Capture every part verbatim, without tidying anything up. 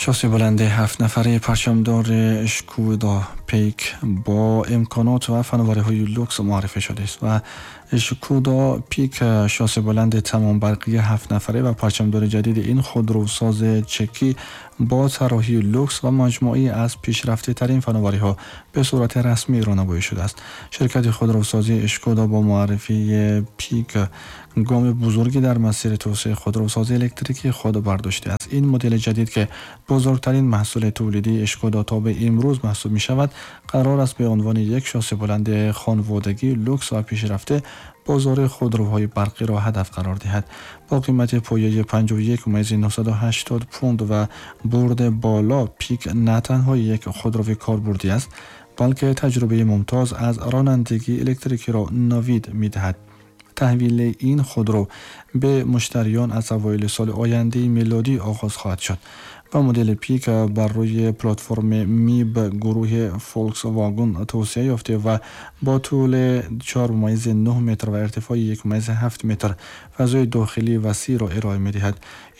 Шосси баланди ҳафт нафараи парчамдори Шкода Пейк бо имконот ва фановариҳои люкс муаррифӣ шудааст. Ва Шкода Пик, шосси баланди тамомбарқии ҳафт нафара ва парчамдори ҷадиди ин худрӯсози чекӣ, бо тарроҳии люкс ва маҷмӯае аз пешрафтатарин фановариҳо ба сурати расмӣ рунамоӣ шудааст. Ширкати худрӯсозии Шкода бо муаррифии Пик гоми бузурге дар масири тавсеаи худрӯсозии электрикии худ бардоштааст. Ин модели ҷадид, ки бузургтарин маҳсули тавлидии Шкода то ба имрӯз маҳсуб мешавад, қарор аст ба унвони як шосси баланди хонаводагӣ, люкс ва пешрафта бозори худрӯҳои барқиро ҳадаф қарор диҳад. Бо қимати пояи панҷоҳу як мумайзи нӯҳсаду ҳаштод пунд ва бурди боло, Пик на танҳо як худрӯи корбурдӣ аст, балки таҷрибаи мумтоз аз ронандагии электрикиро навид медиҳад. Таҳвили ин худрӯ ба муштариён аз аввали соли ояндаи милодӣ оғоз хоҳад шуд ва модели Пик бар рӯи платформи М И Б гурӯҳи Volkswagen тавсеа ёфта ва бо тӯли чор мумайзи нӯҳ метр ва иртифои як мумайзи ҳафт метр фазои дохилии васеъро ироа медиҳад.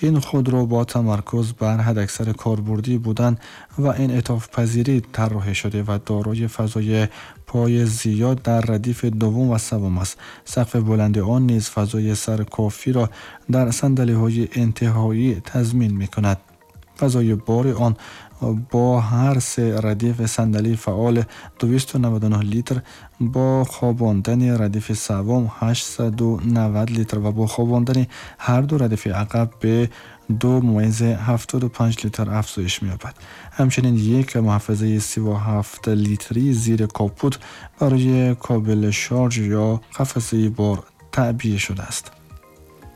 Ин худрӯ бо тамаркуз бар ҳадаксари корбурдӣ будан ва инъитофпазирӣ тарроҳӣ шуда ва дорои фазои пои зиёд дар радифи дуввум ва севум аст. Сақфи баланди он низ фазои саркофиро дар сандалиҳои интиҳоӣ тазмин мекунад. Фазои бори он бо ҳар се радифи сандалии фаъол дусаду наваду нӯҳ литр, бо хобондани радифи севум ҳаштсаду навад литр ва бо хобондани ҳар ду радифи ақаб ба ду мумайзи ҳафтоду панҷ литр афзоиш меёбад. Ҳамчунин як муҳаффазаи сию ҳафт литрӣ зери капот барои кабели шарж ё қафасаи бор таъбия шудааст.